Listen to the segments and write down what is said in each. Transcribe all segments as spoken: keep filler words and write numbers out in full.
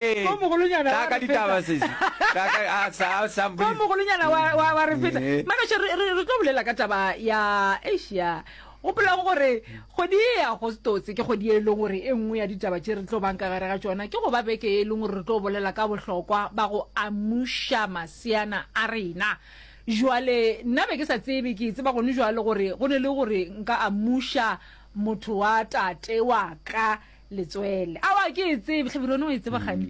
Ko mogolonyana Tla wa ka re ditaba feta. sesi. Tla ka a sa sa Ko mogolonyana wa wa wa re feta. Eh. Magašo re re re tlo bolela ka taba ya Asia. Gopolang gore kgwedi ye ya Agostose ke kgwedi e leng gore e nngwe ya ditaba tše re tlo bang ka gare ga tšona ke go ba beke e leng gore re tlo bolela ka bohlokwa ba go amuša maseana a rena. Jwale nna be ke sa tsebe, ke tseba gone jwale gore go ne le gore nka amuša motho wa tate wa ka letswele. Aowa ke e tsebe, Hlabirwa wena o e tseba kgane?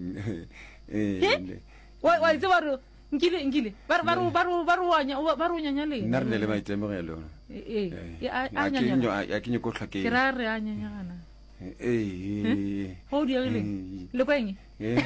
Eh, Wa wa e tseba gore nkile nkile ba re ba re ba re ba re wa nya ba re o nyanya leng? Nna re ne le maitemogelo. Ee, Eh, e a a a ke nyanyega. nyo- a ke nyako hlwa ke Ke ra re a nyanyegana. Eh, Go diegile. Eh. Le kwa eng? eh.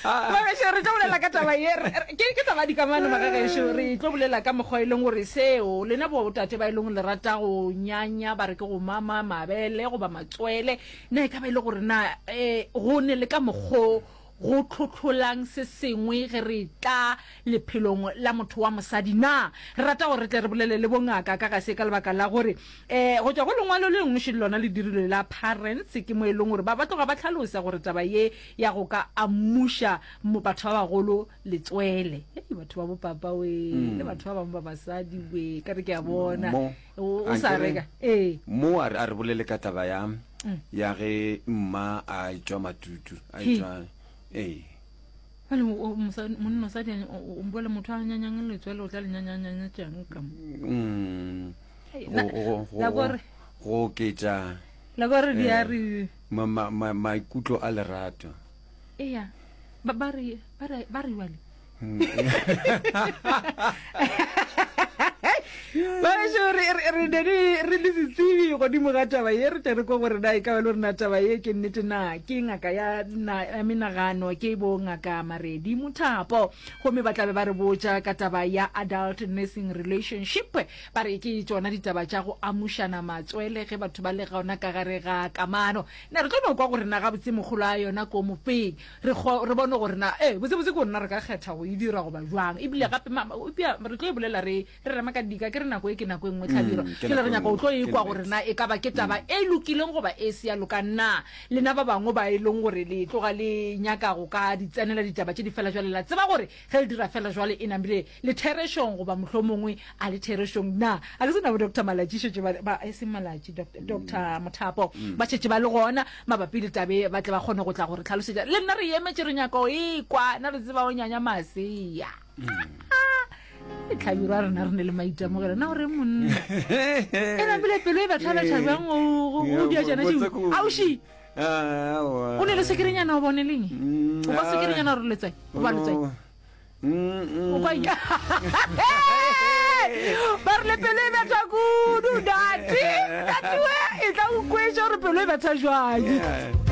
Magešo re tlo bolela ka taba ye re- re- ke ke taba ya dikamano magagešo re tlo bolela ka mokgwa e leng gore seo lena botate ba e leng le rata go nyanya ba re ke go mama mabele goba matswele na e ka ba e le gore na um go ne le ka mokgo go tlhotlholang se sengwe ge re tla lephelong la motho wa mosadi na re rata gore re tle re bolele le bongaka ka ga se ka lebaka la gore um go tšwa go lengwalo le lengwe šele lona le dirilwe la parents ke mo e leng gore ba ba tloga ba tlhalosa gore taba ye ya go ka amuša mo batho ba bagolo letswele hei batho ba bopapa we le batho ba bangwe ba basadi we ka re ke a bona Mo. o o sa Ankere- reka ee mo a re a re bolele ka taba ya ya ge mma a etšwa matutu a He. etšwa ee Bjale o- o- mosadi- monna mosadi a- o o bua le motho a nyanyang letswele o tla le nyanyanyanyatšang ka mo Mm. Hei, Go- na- go- go- la gore go oketša la gore di a eh, re ma- ma- ma- maikutlo a lerato eya ba ba re ba re ba re jwale Baešo re re re ne re re le setsebi godimo ga taba ye re tle re kwa gore na e ka ba le gore na taba ye ke nnete na ke ngaka ya na ya menagano ke bo ngaka Maredi Mothapo gomme ba tla be ba re botša ka taba ya adult nursing relationship ba re ke tšona ditaba tša go amušana matswele ge batho ba le gona ka gare ga kamano na re tlo no kwa gore na gabotse mogolo a yona ko mofeng re kgo- re bone gore na e botsebotse ke gore na re ka kgetha go e dira goba jwang ebile gape ma- ma- eupša re tlo e bolela re re rema ka dika ke re nako e ke nako e nngwe tlhabiro Mm, ke ke le re nako e nyaka o tlo nngwe, e ke kwa gore nnete. na e ka ba ke taba e lokileng goba e se ya loka na lena ba bangwe ba e leng gore le tloga le nyaka go ka di tsenela ditaba tše di fela jwale la tseba gore ge le dira fela jwale e namile le therešong goba mohlomongwe a le therešong na a ke sena bo Doctor Malatši šetše ba, ba e seng Malatši Doctor, Doctor Mothapo ba šetše ba le gona mabapi le tabe ba tle ba kgone go tla gore tlhalosetša le nna re emetše re nyaka go e kwa na re tseba o nyanya masea tlhabirwa rena re ne le maitemogelo na gore monna e napile pelo e bethabetha bjang o o dia tšona tšeo auši o ne le sekerenyana o bone leng o kwa sekerenyana gore letswai o ba letswai o kwa ika ba re le pelo e betha kudu dati dati we e tla o kweša gore pelo e betha jwang Yeah.